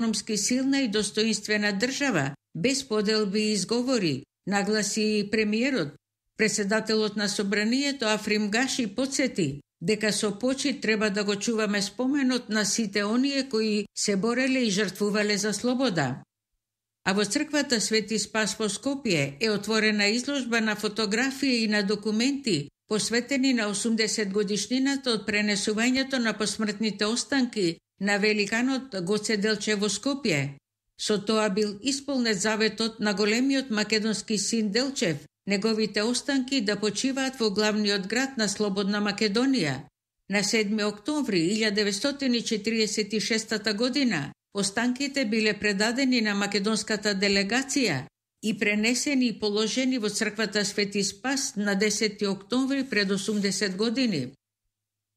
економски силна и достоинствена држава, без поделби и изговори, нагласи премиерот. Председателот на собранието Африм Гаши подсети дека со почит треба да го чуваме споменот на сите оние кои се бореле и жртвувале за слобода. А во црквата Свети Спас во Скопје е отворена изложба на фотографии и на документи посветени на 80 годишнината од пренесувањето на посмртните останки на великанот Гоце Делчев во Скопје. Со тоа бил исполнет заветот на големиот македонски син Делчев, неговите останки да почиваат во главниот град на Слободна Македонија. На 7 октомври 1946 година останките биле предадени на македонската делегација и пренесени и положени во црквата Свети Спас на 10 октомври пред 80 години.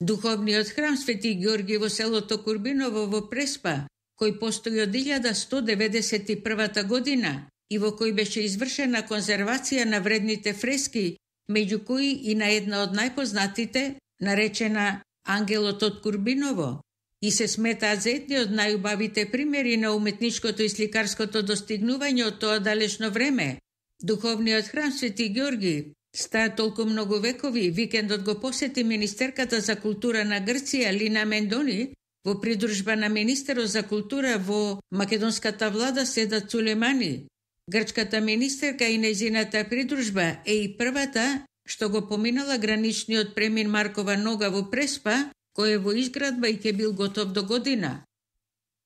Духовниот храм Свети Георги во селото Курбиново во Преспа, кој постои од 1191 година и во кој беше извршена конзервација на вредните фрески, меѓу кои и на една од најпознатите, наречена Ангелот од Курбиново, и се сметаат за едни од најубавите примери на уметничкото и сликарското достигнување од тоа далечно време. Духовниот храм Свети Георги стаја толку многу векови, викендот го посети министерката за култура на Грција Лина Мендони, во придружба на министерот за култура во македонската влада Седат Сулемани. Грчката министерка и нејзината придружба е и првата што го поминала граничниот премин Маркова нога во Преспа, кој е во изградба и ќе бил готов до година.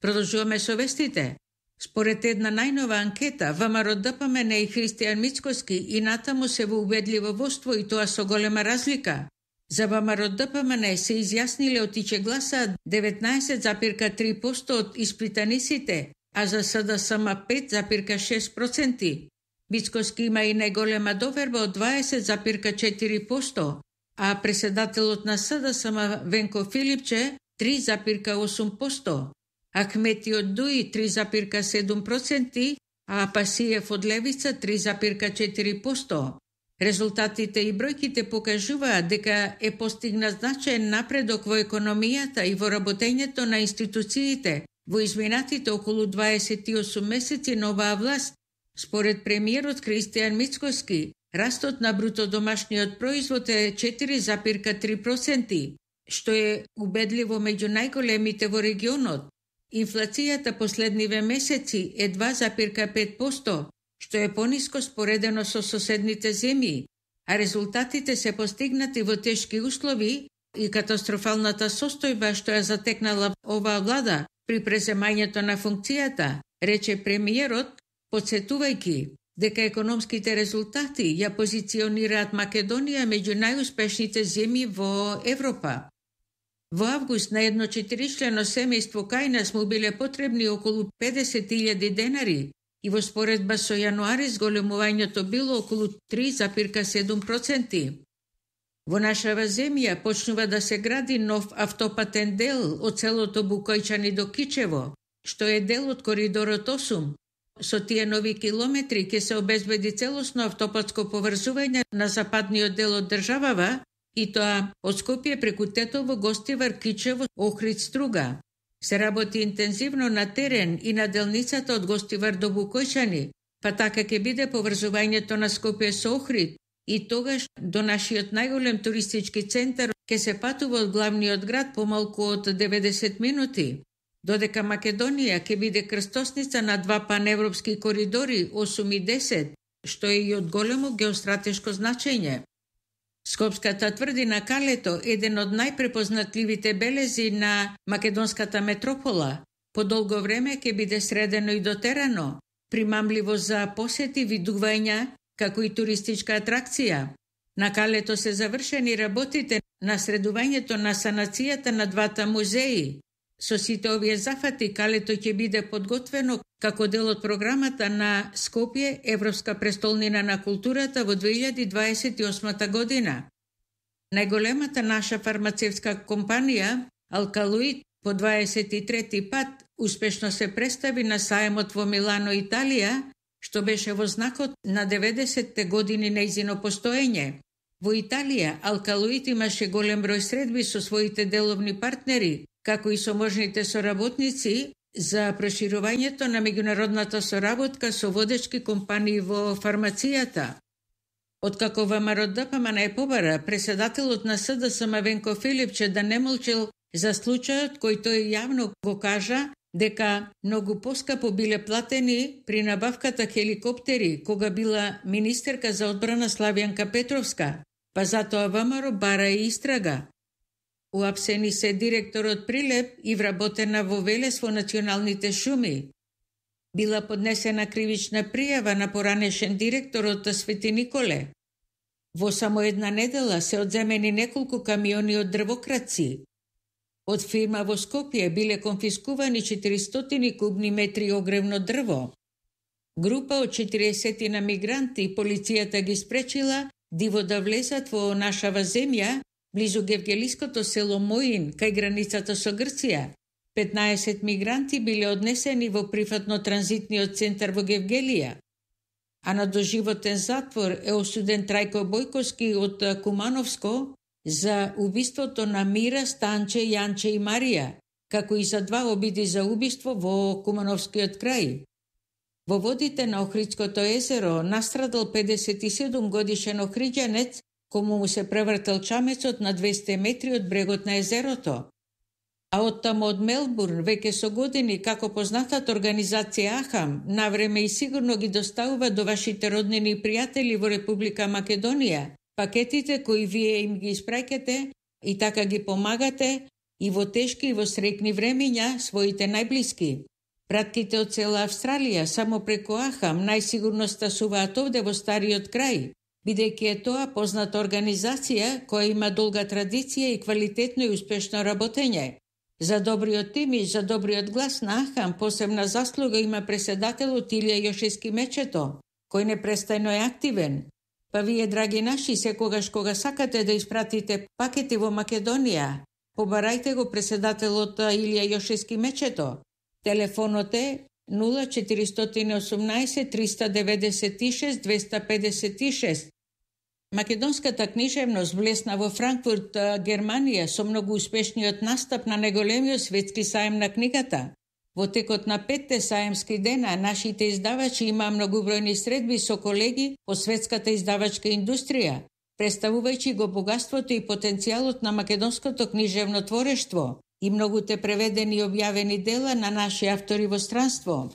Продолжуваме со вестите. Според една најнова анкета, ВМРО ДПМН и Христијан Мицкоски и натаму се во убедливо воство и тоа со голема разлика. За ВМРО ДПМН се изјасниле отиче гласа 19,3% од испитаниците, а за СДСМ 5,6%. Мицкоски има и најголема доверба од 20,4%, а председателот на СДСМ Венко Филипче 3,8%, Ахмети од Дуи 3,7%, а Пасиев од Левица 3,4%. Резултатите и бројките покажуваат дека е постигнат значаен напредок во економијата и во работењето на институциите во изминатите околу 28 месеци на оваа власт. Според премиерот Христијан Мицкоски, растот на бруто домашниот производ е 4,3%, што е убедливо меѓу најголемите во регионот. Инфлацијата последниве месеци е 2,5%, што е пониско споредено со соседните земји, а резултатите се постигнати во тешки услови и катастрофалната состојба што ја затекнала оваа влада при преземањето на функцијата, рече премиерот, подсетувајќи дека економските резултати ја позиционираат Македонија меѓу најуспешните земји во Европа. Во август на едно 4-члено семејство кај нас му биле потребни околу 50.000 денари и во споредба со јануари зголемувањето било околу 3,7%. Во нашава земја почнува да се гради нов автопатен дел од селото Букојчани до Кичево, што е дел од коридорот 8. Со тие нови километри ќе се обезбеди целосно автопатско поврзување на западниот дел од државава, и тоа од Скопје преку Тетово, Гостивар, Кичево, Охрид, Струга. Се работи интензивно на терен и на делницата од Гостивар до Букојчани, па така ќе биде поврзувањето на Скопје со Охрид и тогаш до нашиот најголем туристички центар ќе се патува од главниот град помалку од 90 минути. Додека Македонија ќе биде крстосница на два паневропски коридори 8 и 10, што е и од големо геостратешко значење. Скопската тврдина Калето е еден од најпрепознатливите белези на македонската метропола. По долго време ќе биде средено и дотерано, примамливо за посети, видувања, како и туристичка атракција. На Калето се завршени работите на средувањето на санацијата на двата музеи. Со сите овие зафати Калето ќе биде подготвено како дел од програмата на Скопје Европска престолнина на културата во 2028 година. Најголемата наша фармацевтска компанија Алкалоид по 23 пат успешно се представи на саемот во Милано, Италија, што беше во знакот на 90-те години нејзино постоење. Во Италија Алкалоид имаше голем број средби со своите деловни партнери, како и со можните соработници, за проширувањето на меѓународната соработка со водечки компании во фармацијата. Откако ВМРО ДПМН е побара, преседателот на СДСМ Венко Филипче да не молчел за случајот кој тој јавно го кажа дека многу поскапо биле платени при набавката хеликоптери кога била министерка за одбрана Славјанка Петровска, па затоа ВМРО бара и истрага. Уапсени се директорот Прилеп и вработена во Велес во националните шуми. Била поднесена кривична пријава на поранешен директорот Свети Николе. Во само една недела се одземени неколку камиони од дрвокраци. Од фирма во Скопје биле конфискувани 400 кубни метри огревно дрво. Група од 40 на мигранти полицијата ги спречила диво да влезат во нашава земја, близу гевгелиското село Моин, кај границата со Грција. 15 мигранти биле однесени во прифатно-транзитниот центар во Гевгелија. А на доживотен затвор е осуден Трајко Бојковски од Кумановско за убиството на Мира, Станче, Јанче и Марија, како и за 2 обиди за убиство во Кумановскиот крај. Во водите на Охридското езеро настрадал 57 годишен охриѓанец, кому му се превртел чамецот на 200 метри од брегот на езерото. А оттаму од Мелбурн, веќе со години, како познатата организација АХАМ, навреме и сигурно ги доставува до вашите роднини и пријатели во Република Македонија пакетите кои вие им ги испраќате и така ги помагате и во тешки и во среќни времиња своите најблиски. Пратките од цела Австралија само преку АХАМ најсигурно стасуваат овде во стариот крај, бидејќи е тоа позната организација која има долга традиција и квалитетно и успешно работење. За добриот тим и за добриот глас на АХАМ посебна заслуга има преседателот Илија Јошевски Мечето, кој непрестајно е активен. Па вие, драги наши, секогаш кога сакате да испратите пакети во Македонија, побарајте го преседателот Илија Јошевски Мечето. Телефонот е 0418 396 256. Македонската книжевност влесна во Франкфурт, Германија, со многу успешниот настап на најголемиот светски саем на книгата. Во текот на 5 саемски дена, нашите издавачи имаа многубројни средби со колеги по светската издавачка индустрија, представувајќи го богатството и потенцијалот на македонското книжевно творештво и многуте преведени и објавени дела на наши автори во странство.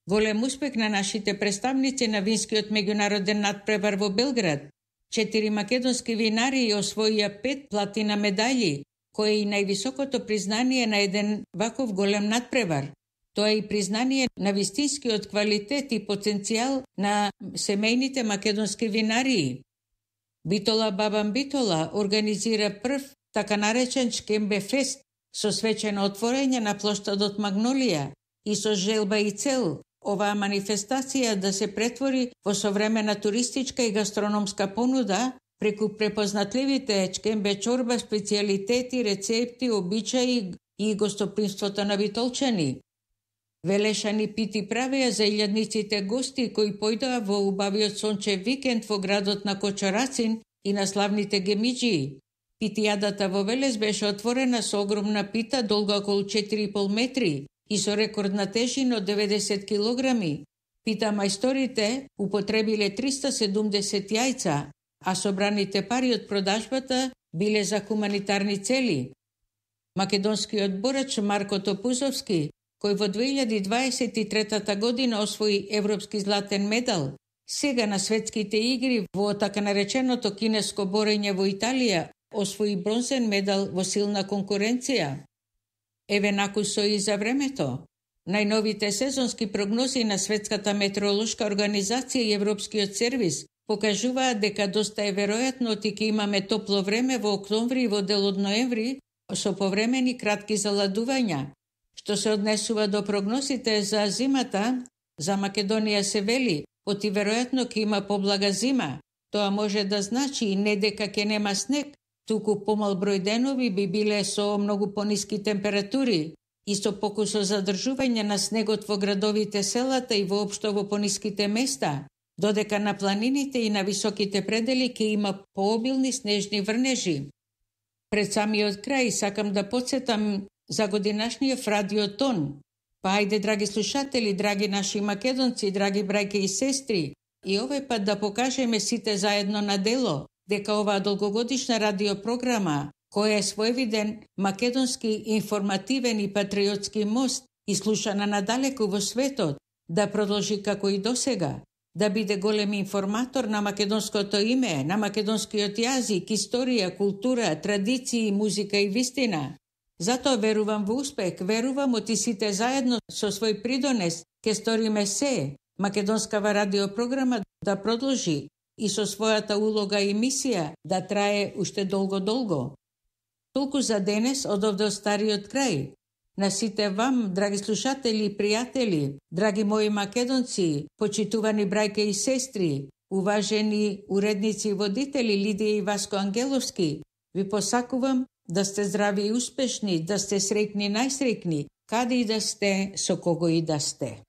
Голем успех на нашите представници на винскиот меѓународен надпревар во Белград. 4 македонски винари освоија 5 платина медаљи, кој е и највисокото признание на еден ваков голем надпревар. Тоа е и признание на вистинскиот квалитет и потенцијал на семејните македонски винарии. Битола Бабан Битола организира прв така наречен Чкембе фест со свечено отворење на плоштадот Магнолија и со желба и цел оваа манифестација да се претвори во современа туристичка и гастрономска понуда преку препознатливите чкембе чорба, специјалитети, рецепти, обичаи и гостопримството на битолчани. Велешани пити правеа за илјадниците гости кои појдоа во убавиот сончев викенд во градот на Кочорацин и на славните гемиџии. Питијадата во Велес беше отворена со огромна пита долга околу 4,5 метри и со рекордна тежина од 90 килограми. Пита мајсторите употребиле 370 јајца, а собраните пари од продажбата биле за хуманитарни цели. Македонскиот борач Марко Топузовски, кој во 2023 година освои европски златен медал, сега на светските игри во така нареченото кинеско борење во Италија освои бронзен медал во силна конкуренција. Еве накусо и за времето. Најновите сезонски прогнози на Светската метеоролошка организација и Европскиот сервис покажуваат дека доста е веројатно ќе имаме топло време во октомври и во дел од ноември со повремени кратки заладувања. Што се однесува до прогнозите за зимата, за Македонија се вели, оти веројатно ќе има поблага зима. Тоа може да значи не дека ќе нема снег, туку помал број денови би биле со многу пониски температури и со покусо задржување на снегот во градовите, селата и воопшто во пониските места, додека на планините и на високите предели ќе има пообилни снежни врнежи. Пред самиот крај сакам да потсетам за годинашниот радиотон. Па ајде, драги слушатели, драги наши македонци, драги брајке и сестри, и овој пат да покажеме сите заедно на дело дека оваа долгогодишна радиопрограма, која е своевиден македонски информативен и патриотски мост и слушана надалеку во светот, да продолжи како и досега, да биде голем информатор на македонското име, на македонскиот јазик, историја, култура, традиции, музика и вистина. Затоа верувам во успех, верувам оти сите заедно со свој придонес ке сториме се македонскава радиопрограма да продолжи и со својата улога и мисија да трае уште долго. Толку за денес од овде од стариот крај. На сите вам, драги слушатели и пријатели, драги мои македонци, почитувани брајке и сестри, уважени уредници и водители Лидија и Васко Ангеловски, ви посакувам да сте здрави и успешни, да сте среќни најсреќни, каде и да сте, со кого и да сте.